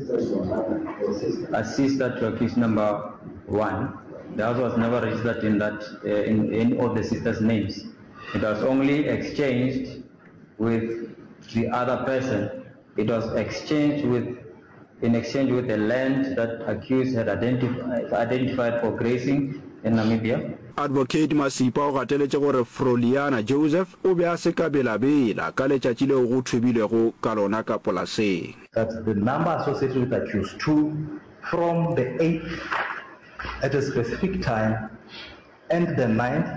A sister to accused number one. The house was never registered in that uh, in any of the sisters' names. It was only exchanged with the other person. It was exchanged with in exchange with the land that accused had identified, identified for grazing in Namibia. Advocate Masipa o gateletše gore Froliana Joseph o be a se ka belabela ka letšatši leo go thubilwego ka lona ka polaseng. That the number associated with accused 2 from the eighth at a specific time and the ninth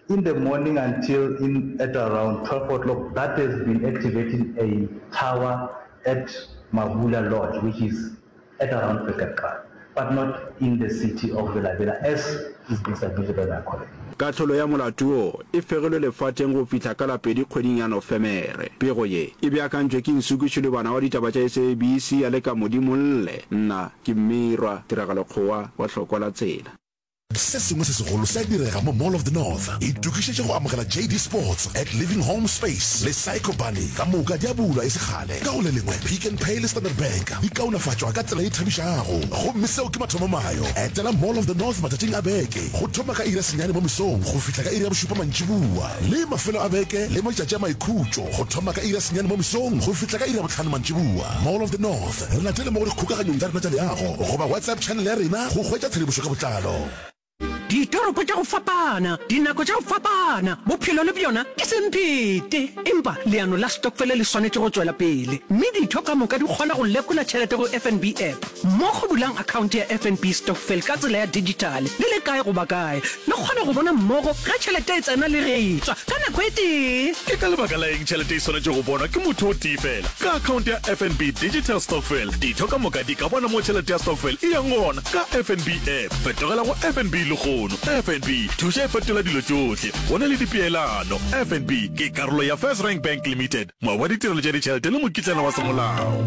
in the morning until in at around 12 o'clock that has been activating a tower at Mabula Lodge which is at around Pekepra but not in the city of Bela-Bela as is being submitted by my colleague. Kahlolo ya molato wo e fegilwe lefateng go fihla ka la pedi kgweding ya Nofemere. Pego ye e beakantšwe ke Nsuku Shilubana wa ditaba tša SABC ya le ka Modimolle. Nna ke Mmirwa Tiragalo Kgowa wa Hlokwa la Tsela. Se sengwe se segolo se a direga mo Mall of the North. Itokišetše go amogela JD Sports at Living Home Space le Psycho Bunny. Ka moka di a bulwa e se kgale. Ka go le lengwe, Pick n Pay le Standard Bank di kaonafatšwa ka tsela ye thabišago. Gomme seo ke mathomomayo. Etela Mall of the North matšatšing a beke go thoma ka iri ya senyane mo mesong go fihla ka iri ya bošupa mantšiboa le mafelo a beke le matšatši a maikhutšo go thoma ka iri ya senyane mo mesong go fihla ka iri ya bohlano mantšiboa. Mall of the North. Re latele mo go dikgokaganyong tša rena tša leago goba WhatsApp channel ya rena go hwetša tshedimošo ka botlalo. Ditoropo tša go fapana, dinako tša go fapana, bophelo le bjona ke semphete. Empa leano la stokfele le swanetše go tšwela pele, mme ditho ka moka di kgona go lekola tšhelete go FNB app. Mmogo bulang akhaonte ya FNB Stokvel ka tsela ya dijithale le le kae goba kae. Le kgona go bona mmogo ge tšhelete e tsena le ge e tšwa ka nako e tee. Ke ka lebaka la eng tšhelete e swanetše go bonwa ke motho o tee feela? Ka akhaonte ya FNB Digital Stokvel, ditho ka moka di ka bona mo tšhelete ya stokvel e yang gona ka FNB app. Fetogela go FNB lehono. FNB, thuša e fetola dilo tšohle. Go na le dipeelano. FNB ke karolo ya FirstRand Bank Limited, moabi wa ditirelo tša ditšhelete le mokitlana wa semolao.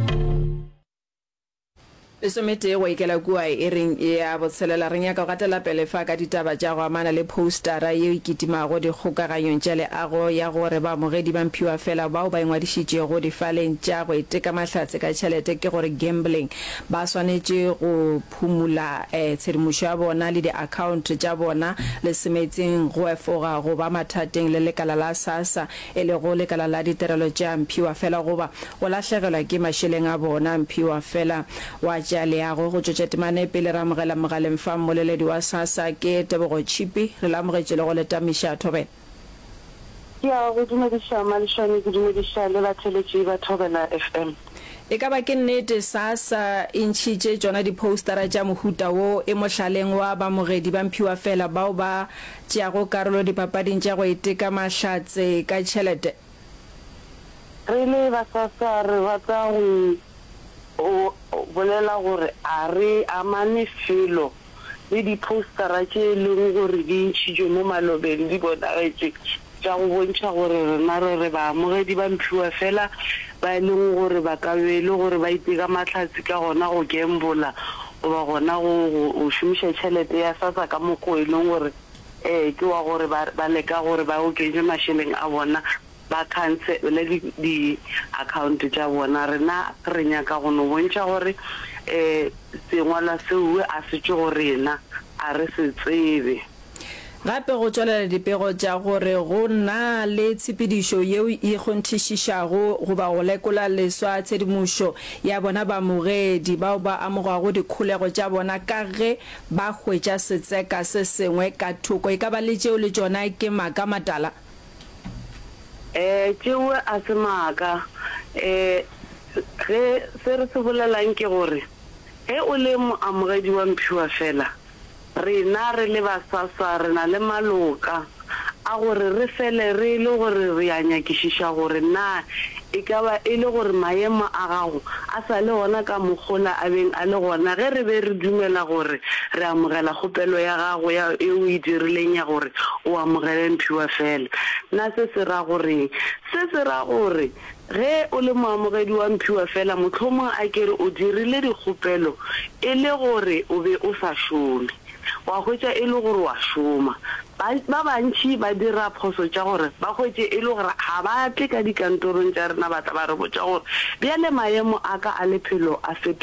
Lesometee go ikela kua iring ya botshelela. Re nyaka go gatela pele fa ka ditaba tša go amana le phoustara yeo e kitimago dikgokaganyong tša leago ya gore baamogedi ba mphiwafela bao ba ingwadišitšego difaleng tša go iteka mahlatse ka tšhelete ke gore gambling ba swanetše go phumula tshedimošo ya bona le diakhaonto tša bona le semetseng go efoga go ba mathateng le lekala la SASSA e lego lekala la ditirelo tša mphiwafela goba go lahlegelwa ke mašeleng a bona. Mphiwafela wa tša leago go tšwetša temana e pele re amogela mogaleng fa mmoleledi wa SASSA ke Tebogo Tšhipi. Re le amogetše le go le tamiša Thobela. Ke a go dumediša Malešwane, ke dumediša le batheeletši ba Thobela FM. E ka ba ke nnete SASSA e ntšhitše tšona diphoustara tša mohuta wo e mohlaleng wa bamogedi ba mphiwafela bao ba tšeago karolo dipapading tša go iteka mahlatse ka tšhelete. Re le ba SASSA re rata go bolela gore a re amane felo le diphoustara tše e leng gore di ntšhitšwe mo malobeng di bonagetše tša go bontšha gore rena re re baamogedi ba mphiwafela ba e leng gore ba ka be e le gore ba iteka mahlatse ka gona go gembola goba gona go go šomiša tšhelete ya SASSA ka mokgo e leng gore ee ke wa gore ba ba leka gore ba oketše mašeleng a bona ba khansele di di account tša bona. Rena re nyaka go no bontšha gore um sengwalwa seo a se tšwe go rena, a re se tsebe. Gape go tšwelela dipego tša gore go na le tshepedišo yeo e kgonthišišago goba go lekola leswa tshedimošo ya bona baamogedi bao ba amogwago dikholego tša bona ka ge ba hwetša setseka se sengwe ka thoko. E ka ba le tšeo le tšona ke maaka matala? Ee, tšeo a se maaka. Ee, ge se re se bolelang ke gore ge o le moamogedi wa mphiwafela, Rena re le ba SASSA re na le maloka a gore re fele re le gore re a nyakišiša gore na e ka ba e le gore maemo a gago a sa le gona ka mokgola a beng a le gona ge re be re dumela gore re amogela kgopelo ya gago ya e o e dirileng ya gore o amogele mphiwafela. Na se se ra goreng? Se se ra gore Ge o le moamogedi wa mphiwafela, mohlomong a ke re o dirile dikgopelo e le gore o be o sa šome, wa hwetša e le gore o a šoma. Ba, ba bantši ba dira phoso tša gore ba hwetše e le gore ga ba tle ka dikantorong tša rena ba tla ba re botša gore bjale maemo a ka a lephelo a fetogile.